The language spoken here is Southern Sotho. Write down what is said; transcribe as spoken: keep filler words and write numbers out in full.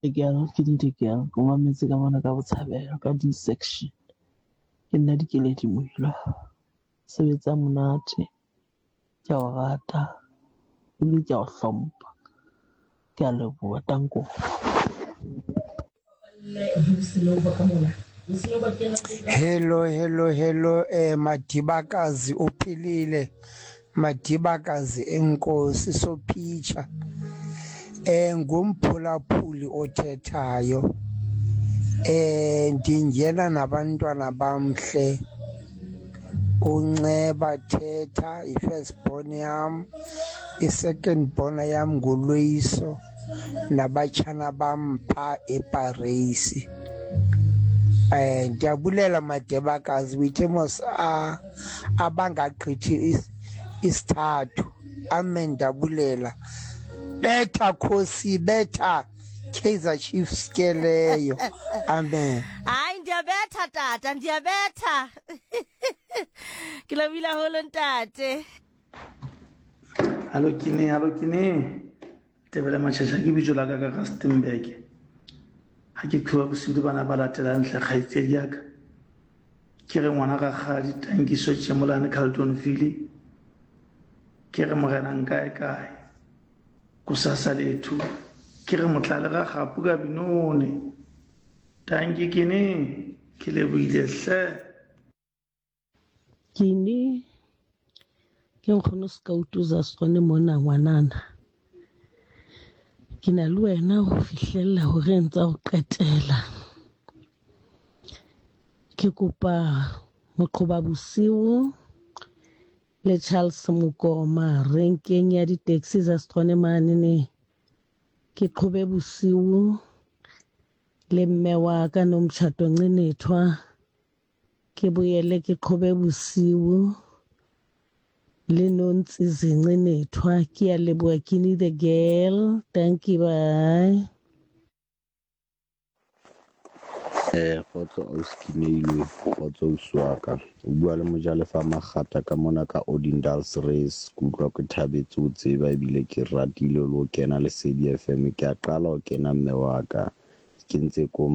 Girl, ke the girl. Ke mametse ka mona ka Botshabelo ka D-section. Ke nna Dikeledi Moilwa. Sebetsa monate. Ke a o rata ebile ke a o hlompha. Ke a leboha, tanko. Hello, hello, hello, eh Madibakazi uphilile. Madibakazi enkosi sophitsha. Eh ngumphulaphuli othethayo. Eh ndingena nabantwana bamhle. Unceba thetha i-first born yam, i-second born yam nguLoyiso nabatshana bam phaa eParys. Eh ndiyabulela Madebakazi withe mos abangagqithi isithathu. Amen, ndiyabulela. Betha Khosi, betha Kaizer Chiefs ke leyo. Amen. Hayi, ndiyabetha tata, ndiyabetha. Ke lebohile haholo ntate. Hallo kine, hallo kine. Tebele Machasha ke bitso la ka ka Rustenburg. Ha ke qhoba bosiu le bana ba latelang hle kgaitsedi ya ka. Ke re ngwana rakgadi Tankiso Tjemolane Carltonville. Ke re morena nkae kae. Kusasa lethu. Ke re motlale ga gapu ka binone. Tanki kine, ke lebohile hle. Kine ke nkgono Scout za sone mona ngwanana. Ke na le wena ho fihlella horeng tsa ho qetela. Ke kopa moqhoba bosiu le Charles Mokoma renkeng ya di-taxi za Setswana mane ne. Ke qhobe bosiu le mme wa ka Nomtshato Ncinethwa. Ke boele ke qhobe bosiu le Nontsizi Ncinethwa. Ke a leboha, Kini the girl. Thank you, bye. Eh, kgotso ausi Keneilwe, kgotso ausi wa ka. O bua le Mojalefa Makgata ka mona ka Odendals Race. Ke utlwa ke thabetse ho tseba ebile ke ratile le ho kena Lesedi F M. Ke a qala ho kena mme wa ka. Ke ntse ko